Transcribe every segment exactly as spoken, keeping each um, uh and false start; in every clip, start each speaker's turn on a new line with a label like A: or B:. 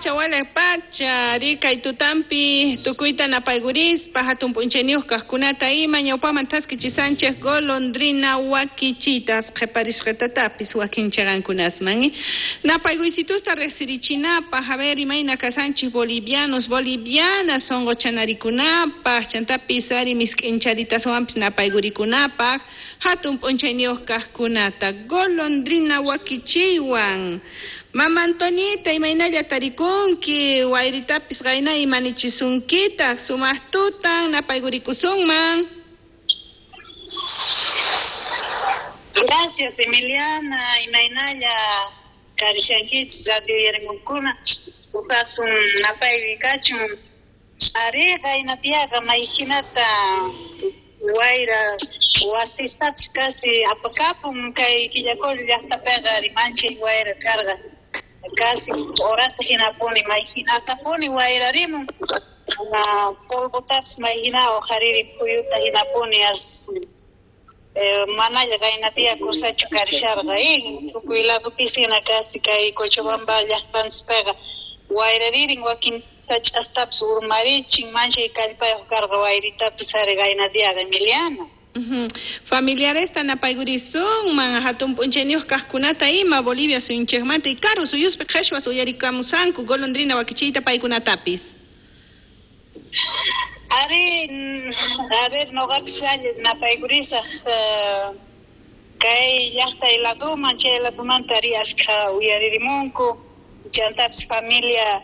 A: pacha, walej pacha, rikay tutampi tukuyta napaygurispa hatun p'unchayniyuq kaqkunata ima ñawpaman thaskichisanchik golondrina wakichitas qhiparisqatatapis wakin chiqankunasman. Napayguysitusta riqsirichinapaq, a ver, imayna kasanchik bolivianos, bolivianas sunquchanarikunapaq, chantapis ari misk'incharitawanpis napaygurikunapaq hatun p'unchayniyuq kaqkunata golondrina wakichiywan. Mama Antonita, imaynalla tarikunki, wayritapis qayna imanichisunkitaq, sumaq tutan napaygurikusunman.
B: Gracias, Emiliana, imaynalla karishankichis radio uyarimuqkuna, uqaqsun napayguy kachun. Ari qaynapiyaqa mayhinata wayra wasistapis casi apakapun kay Quillacollo llaqtapiqa rimanchay wayra karqa. Casi horata hinapuni mayhinatapuni wayrarimun, polvotapis mayhina uqhariri phuyuta hinapuni as manalla qaynapiya kusachu karisharqa tukuy ladupis hina casi kay Cochabamba llaqtanchispiqa wayraririn wakin sach'astapis urmarichin manchay kallpayuq karqa wayritapis ari qaynatiyaqa Emiliana.
A: Uh-huh. Familiaresta napaygurisunman hatun p'unchayniyuq kaqkunata ima Bolivia suyunchikmanta y karu suyuspi qhichwas uyarikamusanku golondrina wakichiyta paykunatapis.
B: Ari, a ver, noqapis alli napaykurisaq kay llaqtay laduman chay ladumanta ari ashkha uyaririmunku chantapis familia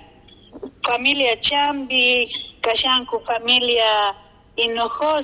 B: familia Chambi kashanku familia Hinojosa.